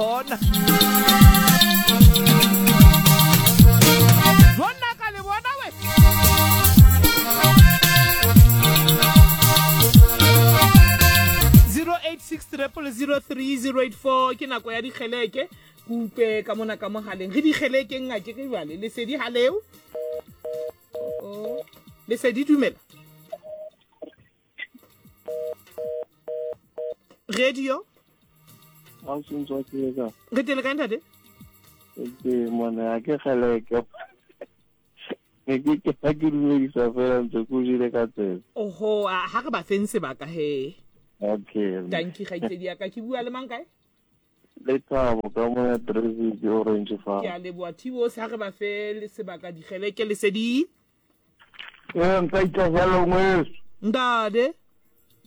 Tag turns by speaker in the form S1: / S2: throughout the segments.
S1: bona. Jonna ka le bona we. 0860003084 ke nako ya dikgeleke ke utlwe ka mona ka mogaleng re dikgelekeng ngake ke jale lesedi ga leo lesedi dumela radio re tele kae ntate
S2: mona ke kgeleke ne ke ke ke dumedisa fela ntse ko jele ka tsebe
S1: oho ha re ba feng sebaka he
S2: okay
S1: tanki kgaitsedi ya ka ke bua le mang kae
S2: Lethabo ka mo ya Traffic Orange Farm.
S1: Ke a leboha Thibo ha re ba fe le sebaka dikgeleke lesedi.
S2: Ee nka itahlela ngweso.
S1: Ntate.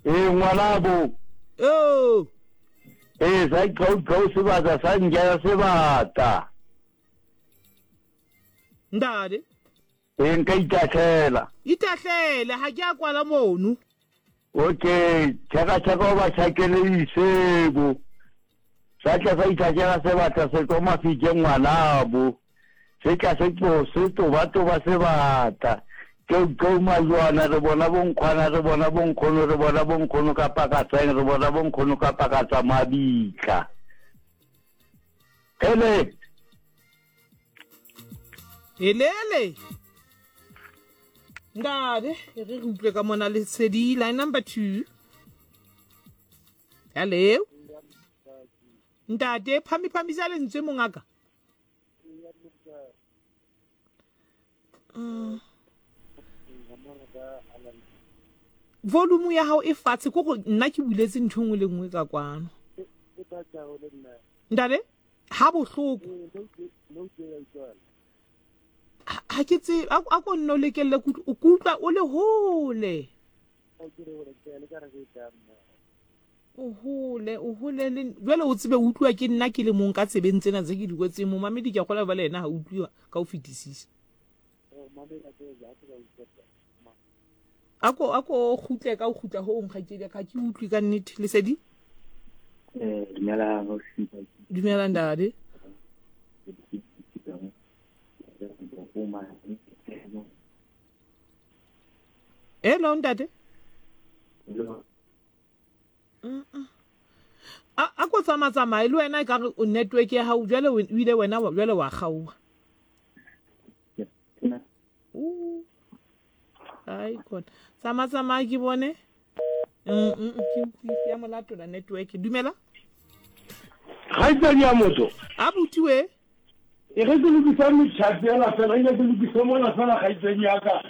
S2: Ee ngwanabo.
S1: Oh.
S2: Ee sa iqhauqhau sebata sa nkela sebata.
S1: Ntate.
S2: Ee nka itahlela.
S1: Itahlele ha ke a kwala mono.
S2: Okay, tšhaka tšhaka o ba tšhakele isebo. Sa tla sa itšhakela sebata se tlo mafike ngwanabo. Se tla se tlo se toba toba sebata. Keu keu majwana re bona bonkgwana re bona bonkgono re bona bonkgono ka pakatsang re bona bonkgono ka pakatsa mabitla. Ele.
S1: Helele. Ntate, e re re utlwe ka mona lesedi line number 2. Hello. Ntate, phami phamisa lentswe mongaka. Mm. Volume ya hao e fatshe ko go nna ke buletse ntho nngwe le nngwe ka kwano. Ntate, ha bohloko. Ha ke tse a ko nno lekelle o kutlwa o le hole. O hole, o hole le jwale o tsebe o utlwa ke nna ke le mong ka tsebeng tsena tse ke di kwetseng momamedi ke a kgola ba le yena ha utlwiwa ka ho fetisisa. A ko kgutle ka o kgutla ho nkgaitsedi ka ke utlwe ka nnete lesedi.
S3: Eh dumela
S1: Dumela ntate. Hello ntate. A ko tsamaya tsamaye le wena e ka re network ya gago jale o ile wena jale wa kgaoga. Ai khona. Tsamaya tsamaya ke bone. Ke ya molatola network. Dumela.
S4: Kgaitsedi ya motho.
S1: A butiwe.
S4: E ge ke lokisa metšhati ela fela nke ke lokise mona fela kgaitsedi ya ka.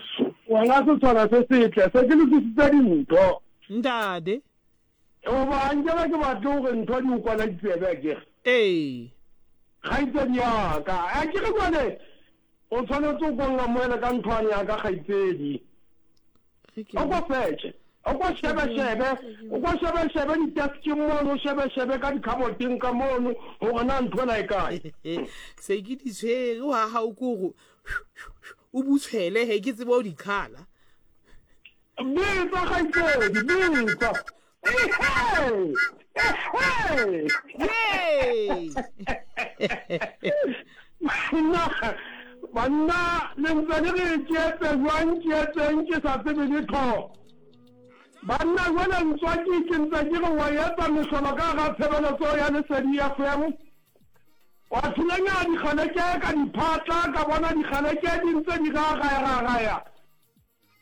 S4: Wena setshwana se setle se ke lokisitse dintho.
S1: Ntate.
S4: Goba nkebe ke batle gore ntho di o kwana ditsebe akere.
S1: Ee.
S4: Kgaitsedi ya ka. Akere jwale o tshwanetse o kong amohele ka nthwane ya ka kgaitsedi. O ko fetše. O ko shebe-shebe, o ko shebe-shebe di-deskeng mono, o shebe-shebe ka dikhaboteng ka mono, gore na ntho ena e kae.
S1: Se ke di tshwere wa gago ko gore o butshwele he ke tsebe o di khala.
S4: Bitsa kgaitsedi, bitsa. Ehe! Ehe!
S1: Yay!
S4: Banna, banna, le ntse le re tšeetse jwang tšeetseng ke sa tsebe letho. Banna jwale ntswaki ke ntse ke re wa etsa mehlolo ka hara tshebeletso ya Lesedi FM. Wa thulanya dikgaleke ka diphatla ka bona dikgaleke di ntse di ragaya-ragaya.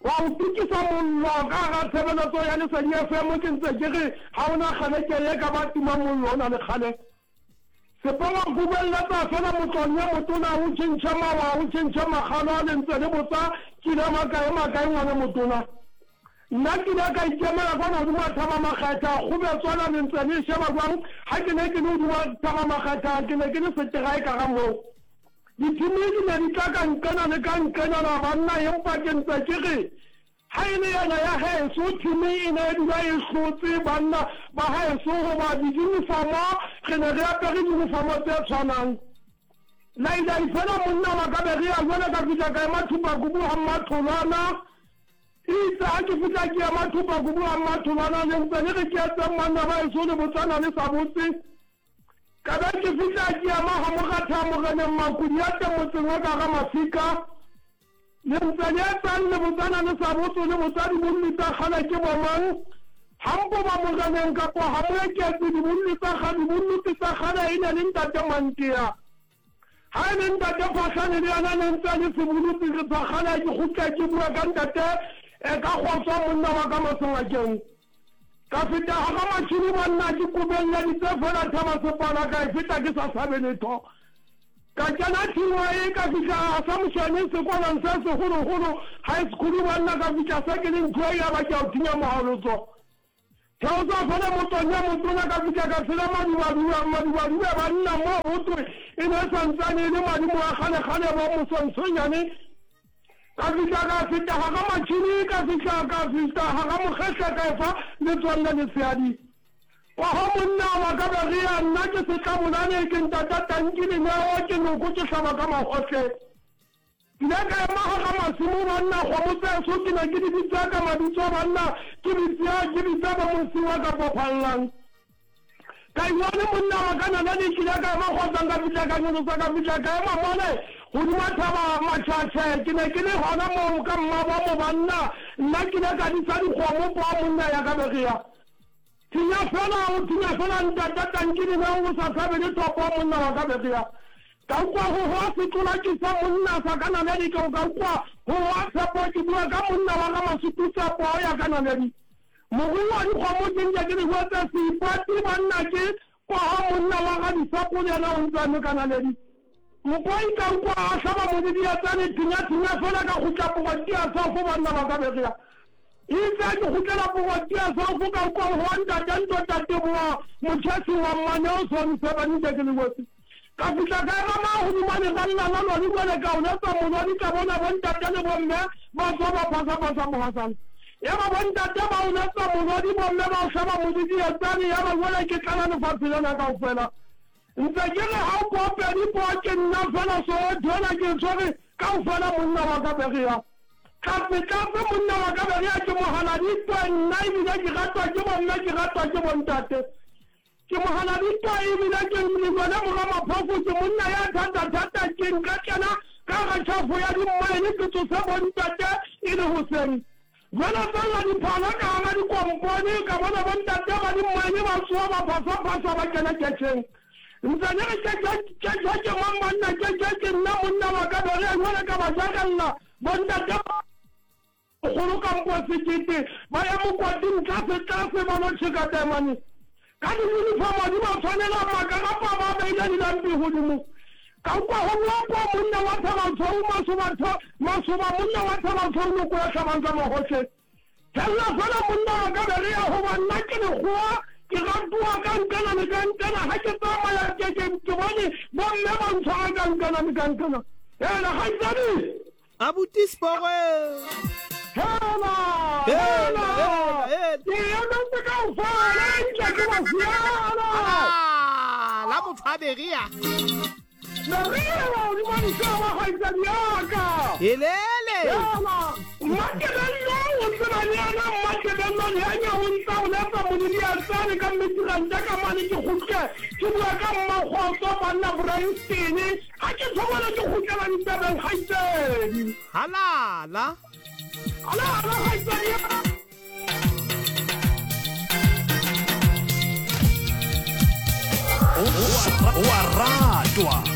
S4: Wa o tukisa mollo ka hara tshebeletso ya Lesedi FM ke ntse ke re ha o na kgaleke ye ka ba tima mollo o na le kgale. Sepowa kubelletsa fela motlong ye motona o tjhentjhe mawa o tjhentjhe makgalo le ntse le botsa kile makae makae ngwana motona. Nna kile ka ikemela kwana hodima thaba makgetha kgobetswana le ntse le sheba jwang ha ke ne ke le hodima thaba makgetha ke ne ke le seteraeka ga moo. Dithimi di ne di tla ka nqena le ka nqenana banna empa ke ntse ke re ha e le yena ya heso thimi e ne e dula e hlotse banna ba heso hoba dijunifomo re ne re apere junifomo tse tshwanang. Lailai fela monna wa ka be re ya jwale ka fihla ka ema Thupakubu ha Mmatholwana. Itse ha ke fihla ke ema Thupakubu ha Mmatholwana le ntse le re ke etseng banna ba heso le botsana le sa botse. Ka be ke fihla ke ema ga Mogatha Moreneng Makodiate motseng wa ka ga Mafika. Le ntse le etsang le botsana le sa botse le botsa dibolli tsa kgale ke bomang? Ha mpoba Moreneng kapo ha Moeketsi dibolli tsa kgale dibolluti tsa kgale e ne le Ntate Mantea. Ha e le Ntate Phahlane le yena ne ntse a le sebolutsi re sa kgale ke kgutla ke bua ka Ntate e ka kgotswa monna wa ka Masengakeng. Ka feta hara matšhini banna ke kobelleditse fela thaba sepala ka e feta ke sa sabe letho. Ka kena tšhingwa e ka fihla Assumption sekolong se segologolo high school banna ka fihla se ke le ntho e ya ba ke a o thinya mohalotso. Theosa fela motsong ya motona ka fihla ka tshela madubadube madubadube banna mo go twe e ne e santsane e le madimo a kgalekgale bo mosonsonyane. Ka fihla ka feta ga ga Matšhini, ka fihla ka fihla ga ga Mokgehla ka efa letswalle leseadi. Kwago monna wa ka Berea, nna ke setlabolane, ke ntata tanki leneo, ke noko ke hlaba ka magohle. Ke ile ka ema ga ga Masimo banna, kgomo tseso ke ne ke di bitsa ka mabitso banna, ke bitsa ke bitsa bo Mosiwa kapa Phallang. Ka iwane monna wa ka naledi ke ile ka ema kgotsang ka fihla ka nyolosa ka fihla ka ema mole godima thaba Matšhatšhe ke ne ke le gona moo ka mmabo mo banna nna ke ile ka disa dikgomo poo monna ya ka begia thinya fela o thinya fela ntata tanki le o sa tshabe le thopo monna wa ka begia ka ukwa go goa setlola ke sa monna sa ka naledi ke ka ukwa go goa tshepo ke bua ka monna wa ga Masututsa poo ya ka naledi Morui wa dikgomo ke nke ke di hwetsa Seipati banna ke kwa ga monna wa ga Disapo le yena o ntse a noka naledi. Mpoi ka ukwa a hlaba modidietsane thinya-thinya fela ka kgutla Pogotia South banna ba ka begea. Itse a ke kgutlela Pogotia South ka ukwa go wa ntate Ntota Teboa Motšhesi wa Mmaneoson Sebanike ke le wetse. Ka fihla ka ema magodimo a leralla la lori bjale ka o letsa molodi ka bona bontate le bomme ba tswa ba phasa-phasa mogasana. Ya ba bontate ba o letsa molodi bomme ba o hlaba modidietsane ya ba jwale ke tlala lefatshe lena kaofela. Ntse ke re ha o poo pedi poo ke nna fela Soweto ena ke e tshwere kaofela monna wa ka Berea. Tlatse tlatse monna wa ka Berea ke mohaladitwe nna ebile ke ratwa ke bomme ke ratwa ke bontate. Ke mohaladitwa ebile ke Mlilwane mora Maphofu, ke monna ya thata-thata, ke nka kena ka hara tjhafo ya dimmaene ke tsose bontate e le hoseng. Jwale tsella diphala ka hara dikompone ka bona bontate ba dimmaene ba tsoha ba phasa-phasa ba kena ketjheng. Ntse ke re ketjhe ke mang banna ketjhe ke nna monna wa ka Berea jwale ka ba jakella bontate ba Kgolo kampo sekete ba ya mokwating tlase tlase ba lo tšheka taemane ka diyunifomo di ba tshwanela makarapa ba beile dilampi godimo. Ka kwa go boa kwa monna wa Thabatshweu masoba tho masoba monna wa Thabatshweu noko ya hlabang ka magohle. Fella fela monna wa ka Berea goba nna ke lekgowa ke ratoa ka nkana le ka nkana ga ke tsamaya ke ke ke bone bomme ba ntshwara ka nkana le ka nkana. Hela kgaitsadi!
S1: Abuti Spore.
S4: Hela, hela, ke emetse kaofela nke ke ba siana.
S1: La motho a beria.
S4: Beria godimo dišaba kgaitsadi yaka.
S1: Helele.
S4: Hela, Mmatebello o tseba le yena Mmatebello le anya o ntsa o letsa moledi a tsane ka mmetiranta ka mane ke kgutle ke bua ka mmakgotso banna Bryanston Ga ke thobole ke kgutlela ditabeng kgaitsedi.
S1: Halala.
S4: Halala kgaitsedi ya.
S5: O a ratwa.